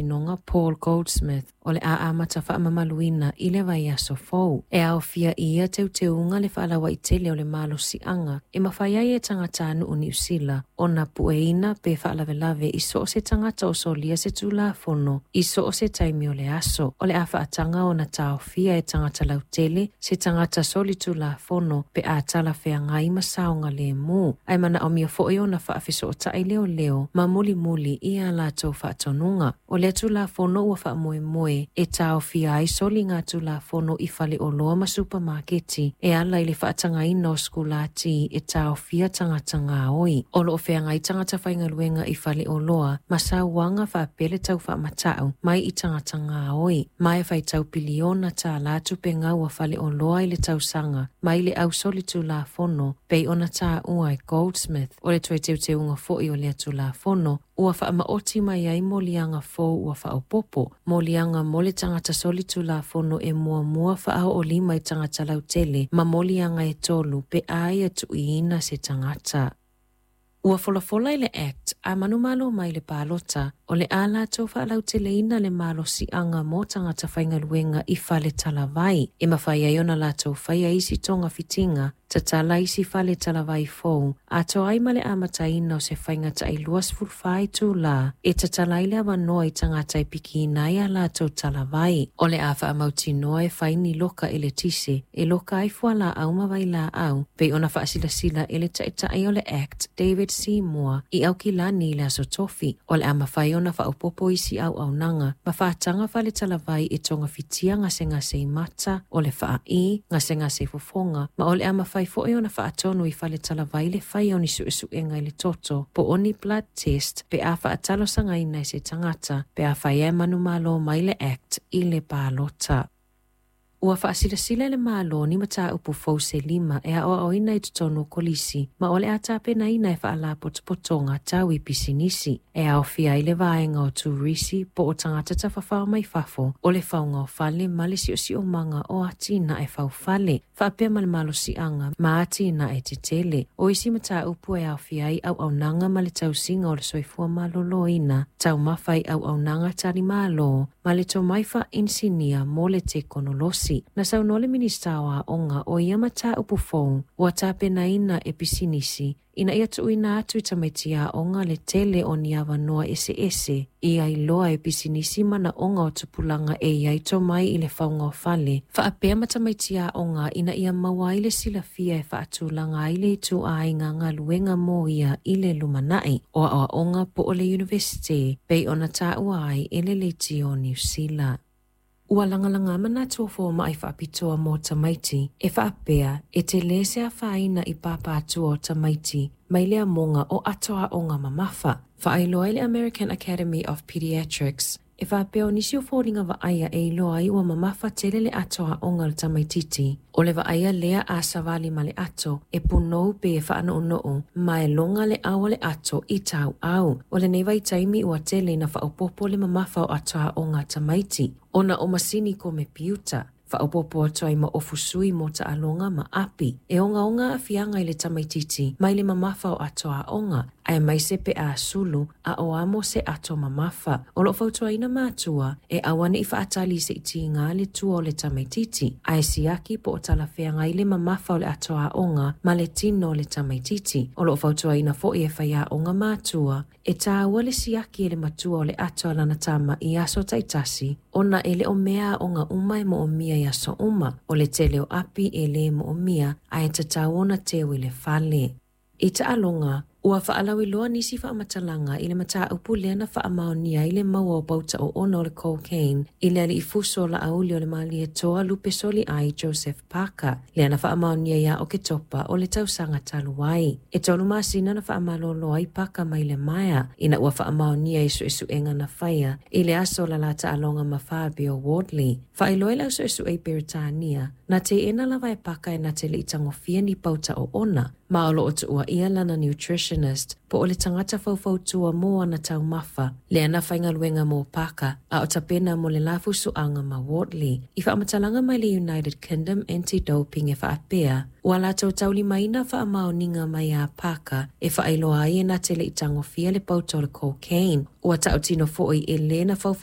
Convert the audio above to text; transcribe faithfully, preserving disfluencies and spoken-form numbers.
Faamasinoga Paul Goldsmith o le a amata faamamaluina i le vaiaso fou. E aofia i ia teuteuga le faalauaitele o le malosiaga e mafai ai e tagatanuu Niu Sila ona pueina pe faalavelave i so o se tagata o solia se tulafono i so o se taimi o le aso. O le a faataga ona taofia e tagata lautele se tagata solitulafono pe a talafeagai ma saogalemu. Ae manaomia foi ona faafesootai leoleo ma mulimuli i a latou faatonuga. O lea tulafono ua faamoemoe e taofia ai soligatulafono i faleoloa ma supamaketi e ala i le faatagaina o sikulati e taofia tagata gaoi. O loo feagai tagata faigaluega i faleoloa ma sauaga faapea le tau faamatau mai i tagata gaoi. Ma e faitau piliona tālā tupe gau a faleoloa i le tausaga mai le au solitulafono pei ona taua e Goldsmith. O le toe teuteuga foi o lea tulafono ua faamaoti mai ai moliaga fou ua faaopoopo, moliaga mo le tagata solitulafono e muamua faaoolima i tagata lautele ma moliaga e tolu pe a ia tuuina se tagata. Ua folafola i le Act a manumalo mai le palota o le a latou faalauteleina le malosiaga mo tagata faigaluega i fale talavai e mafai ai ona latou faia isi togafitiga tatala isi fale talavai fou atoa ai ma le amataina o se faiga tailua sefulufa itulā e tatala ai le avanoa i tagata e pikiina ai a latou talavai. O le a faamautinoa e fai ni loka eletise e loka ai fualaau ma vailaau pei ona faasilasila e le taitai o le Act David Seymour i Aukilani i le aso Tofi. O le a mafai ona faaopoopo isi auaunaga ma faataga fale talavai e togafitia gasegase i mata, o le faai, gasegase i fofoga, ma o le a mafai foi ona faatonu i fale talavai le faia o ni suesuega i le toto po o ni blood test pe a faatalosagaina e se tagata pe a fai e manumalo mai le Act i le palota. Ua faasilasila e le Malo ni mataupu fou se lima e aoaoina i totonu o kolisi ma o le a tapenaina e faalapotopotoga tau i pisinisi e aofia ai le vaega o turisi po o tagata tafafao mai fafo, o le fauga o fale ma le siosiomaga o atinae faufale faapea ma le malosiaga ma atinae tetele. O isi mataupu e aofia ai auaunaga ma le tausiga o le soifua maloloina, taumafa i auaunaga talimalo ma le tomai faainisinia mo le tekonolosi. Na saunoa le Minista o Aoga o ia mataupu fou ua tapenaina e pisinisi ina ia tuuina atu i tamaiti aoga le tele o ni avanoa eseese ia iloa e pisinisi manaoga o tupulaga e iai tomai i le fauga o fale faapea ma tamaiti aoga ina ia maua ai le silafia e faatulaga ai le ituaiga galuega mo ia i le lumanai o aoaoga po o le University pei ona taua ai e le Leitio Niu Sila. Ua lagalaga manatu o fomai faapitoa mo tamaiti e faapea e tele se afaina i pāpātua o tamaiti mai le amoga o atoaoga mamafa. Faailoa ai le American Academy of Pediatrics e faapea o nisi o foliga vaaia e iloa ai ua mamafa tele le atoaoga o le tamaititi. O le vaaia lea a savali ma le ato e punou pe e faanoonoo ma e loga le ao o le ato i tauau. O lenei vaitaimi ua tele ina faaopoopo le mamafa o atoaoga a tamaiti ona o masini komepiuta. Faaopoopo atu ai ma ofusui mo taaloga ma api. E ogaoga aafiaga i le tamaititi mai le mamafa o atoaoga aemaise pe a sulu a o amo se ato mamafa. O loo fautuaina matua e aua nei faatali se'i tiga le tua o le tamaititi ae siaki po o talafeagai le mamafa o le atoaoga ma le tino o le tamaititi. O loo fautuaina foi e faiaoga matua e tāua le siaki e le matua o le ato a lana tama i aso taitasi ona e le o mea aoga uma e moomia i aso uma. O le tele o api e lē moomia ae tatau ona teu i le fale. I taaloga, ua faalauiloa nisi faamatalaga i le mataupu lea na faamaonia ai le maua o pauta oona o le cocaine i le alii fuso o laauli o le Malietoa Lupesoli ai Joseph Parker, lea na faamaonia ia Oketopa o le tausaga talu ai. E tolu masina na faamalolo ai Parker mai le Maea ina ua faamaonia i suesuega na faia i le aso o la taaloga ma Fabio Wardley. Faailoa i le au suesue i Peretania, na teena lava e Parker e na te lei tagofia ni pauta oona, ma o loo tuuaia lana nutritionist po o le tagata faufautua mo ana taumafa lea na faigaluega mo Parker a o tapena mo le lafusoaga ma Wardley. I faamatalaga mai le United Kingdom Anti-Doping e faapea ua latou taulimaina faamaoniga mai a Parker e faailoa ai e na te lei tagofia le pauta o le cocaine. Ua tautino foi e lē na faufautua